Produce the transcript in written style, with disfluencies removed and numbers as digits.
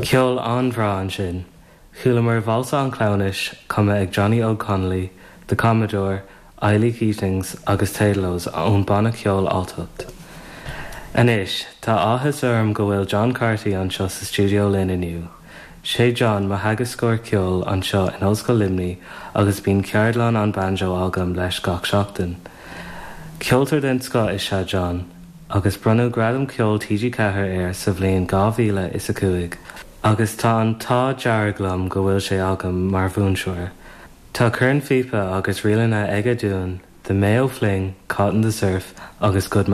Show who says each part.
Speaker 1: Ceol an-bhreá ansin. Chualamar Válsa an Chleamhnais cumtha ag Johnny Óg Connolly, The Commodore, Eilí Keatings agus Taedlos ón banna ceoil Alltacht. Anois, tá áthas orm go bhfuil John Carty anseo sa stiúideo linn inniu. Sé John mo theagascóir ceoil anseo in Ollscoil Luimnigh agus bíonn ceardlann an banjo agam leis gach seachtain. Ceoltóir den scoth is ea John, agus bronnadh Gradam Ceoil TG4 air sa bhliain 2005, agus tá an t-ádh dearg liom go bhfuil sé agam mar mhúinteoir. Tá cornphíopa agus ríleanna aige dúinn, The Mayo Fling, Caught in the Surf agus Good.